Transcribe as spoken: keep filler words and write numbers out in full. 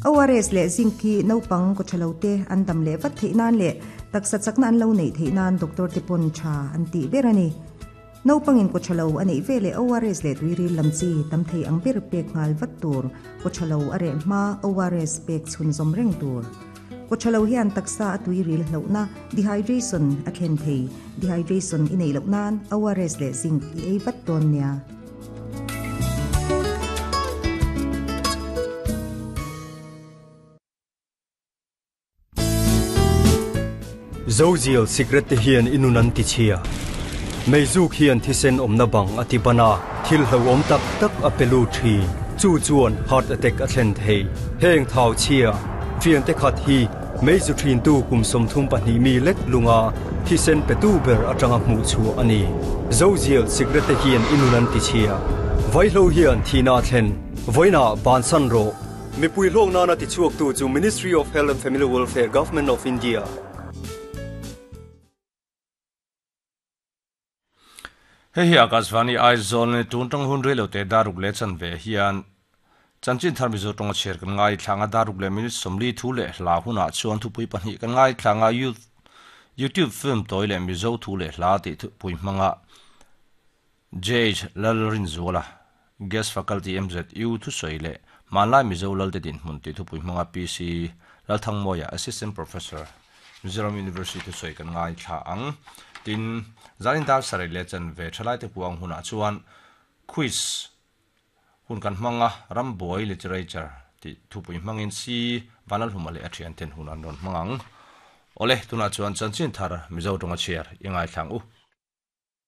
O R S le zinc hi naupang kawthalo te an dam leh vat theih nan leh taksa chakna an lo neih theih nan doctor te pawn tha an tih ber a ni. Naupangin kawthalo a neih ve leh O R S leh tuiril lam chi tam thei ang ber pek nghal vat tur kawthalo a reh hma O R S pek chhun zawm reng tur. Kawthalo hian taksa a tuiril hlauhna dehydration a thlen thei dehydration i neih loh nan O R S leh zinc i ei vat dawn nia. Zozial cigarette te hian inun an ti chhia. Meizuk hian thisen awmna bang a ti bana thil hlo awm tak tak a pelu thi chu chuan heart attack a thlen thei heng thau chhia fian te khat hi meizu thin tu kum som thum pahnih mi lek lunga thisen petu ber atanga hmu chu ani. Zozial cigarette te hian inun an ti chhia vaihlo hian thina thlen voina bansan ro mipui hlawk nana ti chuak tu chu Ministry of Health and Family Welfare, Government of India. Hei hi Akashvani Aizawl ni tun tang hun relo te daruk le chan ve hian chanchin thar mizo tonga cher kan ngai thlanga daruk le minute somli thu le hla huna chuan thu pui pahnih kan ngai thlanga YouTube film toi le mizo thu le hla ti thu pui hmanga J H Lalrinzuala guest faculty M Z U thu soi le manlai mizo lal te din hmun ti thu pui hmanga P C Lalthangmawia assistant professor Mizoram University thu soi kan ngai thla ang tin zanin dar sarai le chan ve thalai te puang huna chuan quiz hun kan hmanga Ramboy literature ti thupui hmangin si vanal humale a thian ten hun an ron hmangang ole tuna chuan chanchin thar mizo tonga chair ingai thlang u.